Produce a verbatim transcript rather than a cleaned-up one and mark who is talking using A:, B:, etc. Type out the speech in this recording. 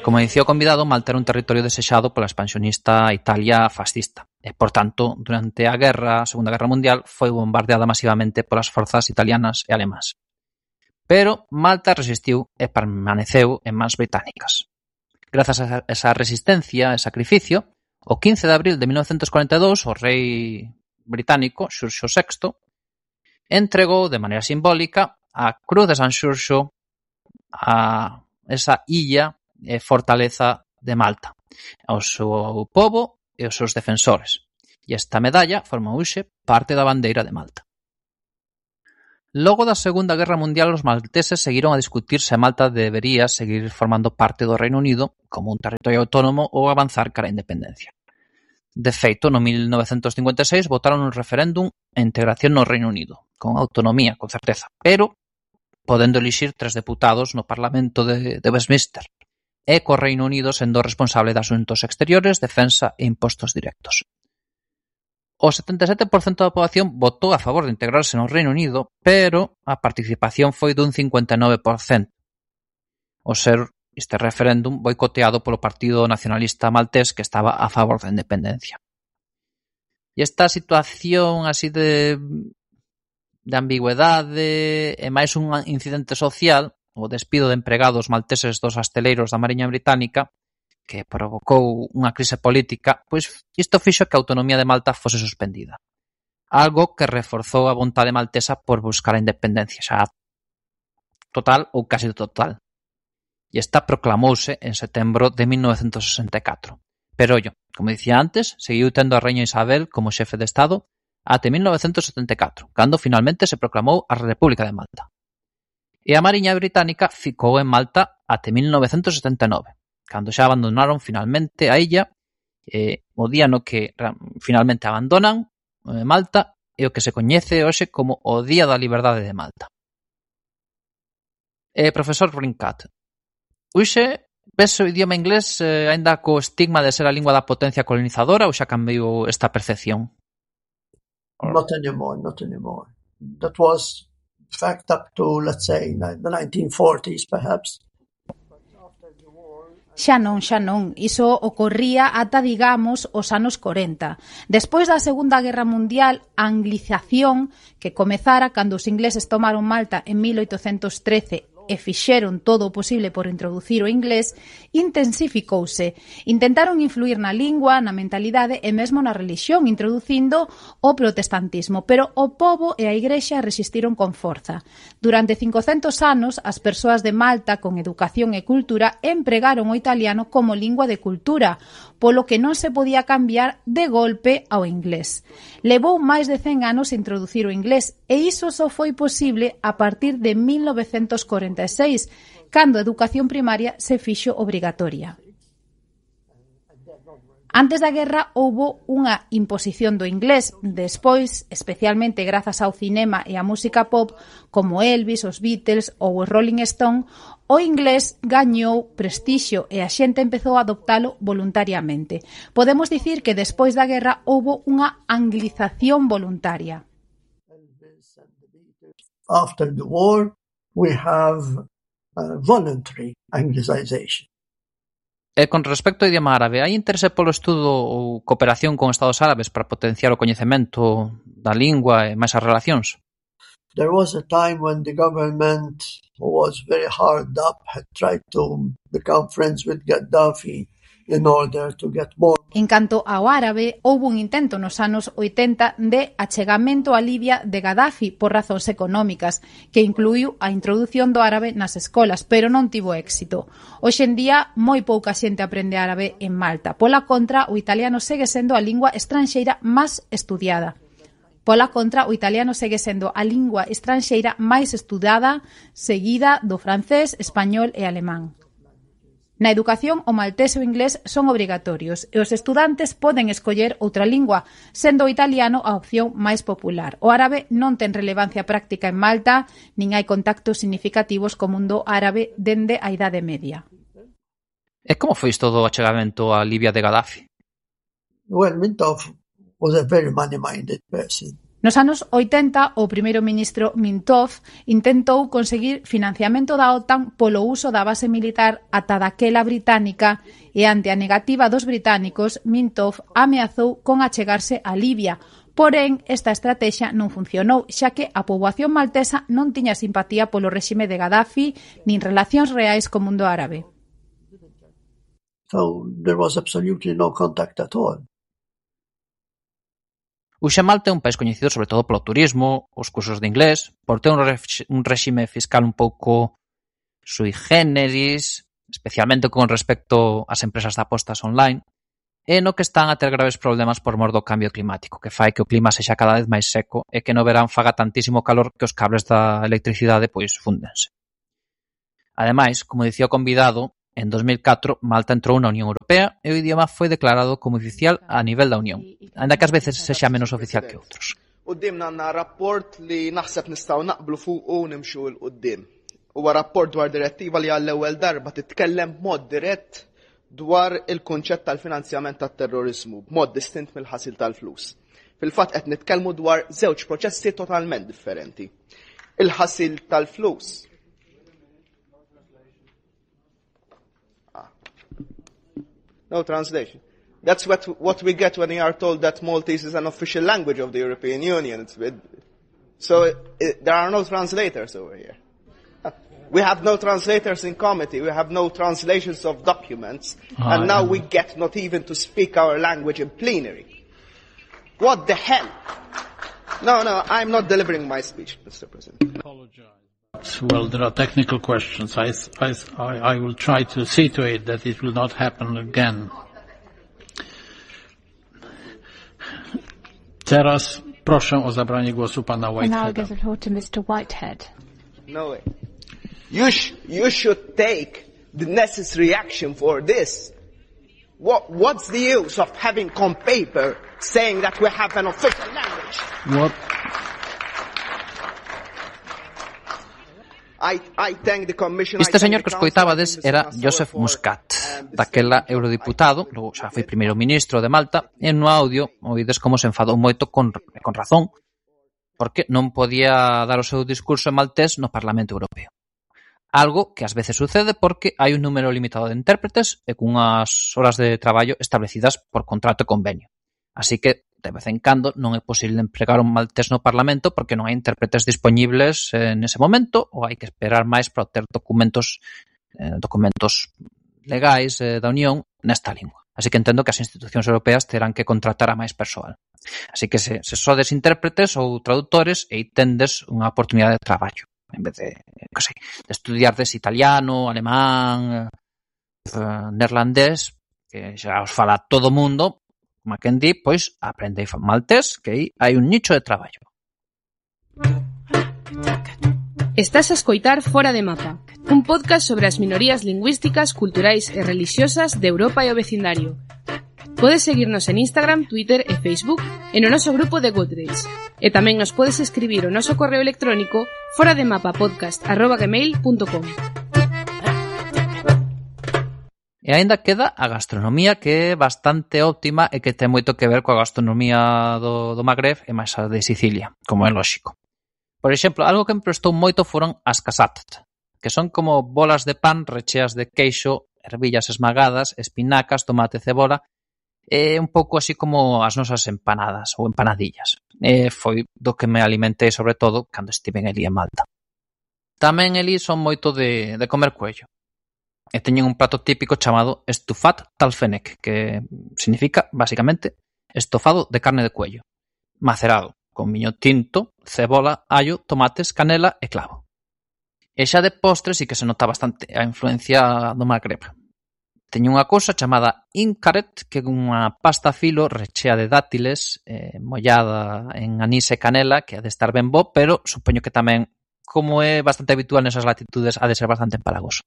A: Como dicía o convidado, Malta era un territorio desexado pola expansionista Italia fascista e, por tanto, durante a guerra, a Segunda Guerra Mundial, foi bombardeada masivamente polas forzas italianas e alemás. Pero Malta resistiu e permaneceu en mans británicas. Grazas a esa resistencia e sacrificio, o quince de abril de mil novecentos cuarenta e dous, o rei británico, Xurxo sexto, entregou de maneira simbólica a Cruz de San Xurxo a esa illa e fortaleza de Malta, ao seu pobo e aos seus defensores. E esta medalla forma hoxe parte da bandeira de Malta. Logo da Segunda Guerra Mundial, os malteses seguiron a discutir se Malta debería seguir formando parte do Reino Unido como un territorio autónomo ou avanzar cara a independencia. De feito, no mil novecentos cincuenta e seis votaron un referéndum a integración no Reino Unido, con autonomía, con certeza, pero podendo elixir tres deputados no Parlamento de, de Westminster, e co Reino Unido sendo responsable de asuntos exteriores, defensa e impostos directos. O setenta e sete por cento da poboación votou a favor de integrarse no Reino Unido, pero a participación foi dun cincuenta e nove por cento. O ser este referéndum boicoteado polo Partido Nacionalista Maltés, que estaba a favor da independencia. E esta situación así de, de ambigüedade e máis un incidente social, o despido de empregados malteses dos asteleiros da Mariña Británica, que provocou unha crise política, pois isto fixo que a autonomía de Malta fose suspendida. Algo que reforzou a vontade maltesa por buscar a independencia, xa total ou casi total. E esta proclamouse en setembro de mil novecentos sesenta e catro. Pero, ollo, como dicía antes, seguiu tendo a Reina Isabel como xefe de Estado até mil novecentos setenta e catro, cando finalmente se proclamou a República de Malta. E a Mariña Británica ficou en Malta até mil novecentos setenta e nove. Cando xa abandonaron finalmente a illa, eh, o día no que finalmente abandonan eh, Malta é o que se coñece hoxe como o Día da Liberdade de Malta. Eh, profesor Brincat, hoxe ves o idioma inglés eh, ainda co estigma de ser a lingua da potencia colonizadora ou xa cambiou esta percepción?
B: Not anymore, not anymore. That was fact up to, let's say, the nineteen forties, perhaps.
C: Xa non, xa non. Iso ocorría ata, digamos, os anos corenta. Despois da Segunda Guerra Mundial, a anglización que comezara cando os ingleses tomaron Malta en mil oitocentos trece e fixeron todo o posible por introducir o inglés, intensificouse. Intentaron influir na lingua, na mentalidade e mesmo na relixión, introducindo o protestantismo, pero o pobo e a igrexa resistiron con forza. Durante cincocentos anos, as persoas de Malta con educación e cultura empregaron o italiano como lingua de cultura, polo que non se podía cambiar de golpe ao inglés. Levou máis de cen anos introducir o inglés e iso só foi posible a partir de mil novecentos corenta e seis, cando a educación primaria se fixo obrigatoria. Antes da guerra houbo unha imposición do inglés, despois, especialmente grazas ao cinema e á música pop, como Elvis, os Beatles ou os Rolling Stone, o inglés gañou prestixio e a xente empezou a adoptalo voluntariamente. Podemos dicir que despois da guerra houbo unha anglización voluntaria.
B: After the war, we have uh, voluntary anglicization.
A: E con respecto ao idioma árabe, hai interese polo estudo ou cooperación con estados árabes para potenciar o coñecemento da lingua e máis as relacións?
B: There was a time when the government was very hard up, had tried to become friends with Gaddafi in order to get more.
C: En canto ao árabe, houbo un intento nos anos oitenta de achegamento a Libia de Gaddafi por razóns económicas, que incluiu a introdución do árabe nas escolas, pero non tivo éxito. Hoxe en día, moi pouca xente aprende árabe en Malta. Pola contra, o italiano segue sendo a lingua estranxeira máis estudiada. Pola contra, o italiano segue sendo a lingua estranxeira máis estudada, seguida do francés, español e alemán. Na educación, o maltés e o inglés son obrigatorios e os estudantes poden escoller outra lingua, sendo o italiano a opción máis popular. O árabe non ten relevancia práctica en Malta, nin hai contactos significativos co mundo árabe dende a Idade Media.
A: E como foi isto do achegamento a Libia de Gaddafi?
B: Well, Mintoff was a very money-minded person.
C: Nos anos oitenta, o primeiro ministro Mintov intentou conseguir financiamento da OTAN polo uso da base militar ata daquela británica e ante a negativa dos británicos, Mintov ameazou con achegarse a Libia. Porén, esta estrategia non funcionou, xa que a poboación maltesa non tiña simpatía polo réxime de Gaddafi nin relacións reais co mundo árabe.
B: So there was absolutely no contact at all.
A: Hoxe Malta é un país coñecido sobre todo polo turismo, os cursos de inglés, por ter un, re- un réxime fiscal un pouco sui generis, especialmente con respecto ás empresas de apostas online, e no que están a ter graves problemas por mor do cambio climático, que fai que o clima sexa cada vez máis seco e que no verán faga tantísimo calor que os cables da electricidade pois fúndense. Ademais, como dicía o convidado, en dos mil catro, Malta entrou na Unión Europea e o idioma foi declarado como oficial a nivel da Unión, ainda que ás veces sexa menos oficial que outros.
D: Qudiemna għandna rapport li naħseb nistgħu naqblu fuq u nimxu l qudiem. Huwa rapport dwar direttiva li għall-ewwel darba titkellem b'mod dirett dwar il-kunċett tal-finanzjament tat-terrorizmu, b'mod distint mill-ħasil tal-flus. Fil-fatt qed nitkellmu dwar żewġ proċessi totalment differenti. Il-ħasil tal-flus No translation. That's what what we get when we are told that Maltese is an official language of the European Union. It's with, so it, it, there are no translators over here. We have no translators in committee. We have no translations of documents. Oh, and now yeah. we get not even to speak our language in plenary. What the hell? No, no, I'm not delivering my speech, Mister President.
E: Apologize. Well, there are technical questions. I, I, I will try to see to it that it will not happen again. Teraz proszę o zabranie głosu pana Whiteheada.
F: mister Whitehead.
D: No way. You, sh you should take the necessary action for this. What, what's the use of having on paper saying that we have an official language?
E: What?
A: Este señor que escoitabades era Joseph Muscat, daquela eurodiputado, logo xa foi primeiro ministro de Malta, e no audio oídes como se enfadou moito con, con razón, porque non podía dar o seu discurso en maltés no Parlamento Europeo. Algo que ás veces sucede porque hai un número limitado de intérpretes e cunhas horas de traballo establecidas por contrato e convenio. Así que, de vez en cando, non é posible empregar un maltés no Parlamento porque non hai intérpretes disponibles eh, nese momento ou hai que esperar máis para obter documentos eh, documentos legais eh, da Unión nesta lingua. Así que entendo que as institucións europeas terán que contratar a máis persoal. Así que se, se sodes intérpretes ou traductores e tendes unha oportunidade de traballo en vez de, que sei, de estudiardes italiano, alemán, eh, neerlandés, que xa os fala todo o mundo. Como quen di, pois aprendei maltés, que aí hai un nicho de traballo.
G: Estás a escoitar Fora de Mapa, un podcast sobre as minorías lingüísticas, culturais e religiosas de Europa e o vecindario. Podes seguirnos en Instagram, Twitter e Facebook e no noso grupo de Goodreads. E tamén nos podes escribir o noso correo electrónico forademapapodcast arroba gmail punto com.
A: E aínda queda a gastronomía, que é bastante óptima e que ten moito que ver coa gastronomía do, do Magreb e máis a de Sicilia, como é lóxico. Por exemplo, algo que me prestou moito foron as casatat, que son como bolas de pan recheas de queixo, ervillas esmagadas, espinacas, tomate, cebola, e un pouco así como as nosas empanadas ou empanadillas. E foi do que me alimentei sobre todo cando estiven ali en Malta. Tamén ali son moito de, de comer cuello. E teñen un prato típico chamado estufat talfenek, que significa, basicamente, estofado de carne de cuello, macerado, con viño tinto, cebola, allo, tomates, canela e clavo. E xa de postre sí que se nota bastante a influencia do Magreb. Teñen unha cousa chamada inkaret, que é unha pasta a filo rechea de dátiles, eh, mollada en anís e canela, que ha de estar ben bo, pero supoño que tamén, como é bastante habitual nesas latitudes, ha de ser bastante empalagoso.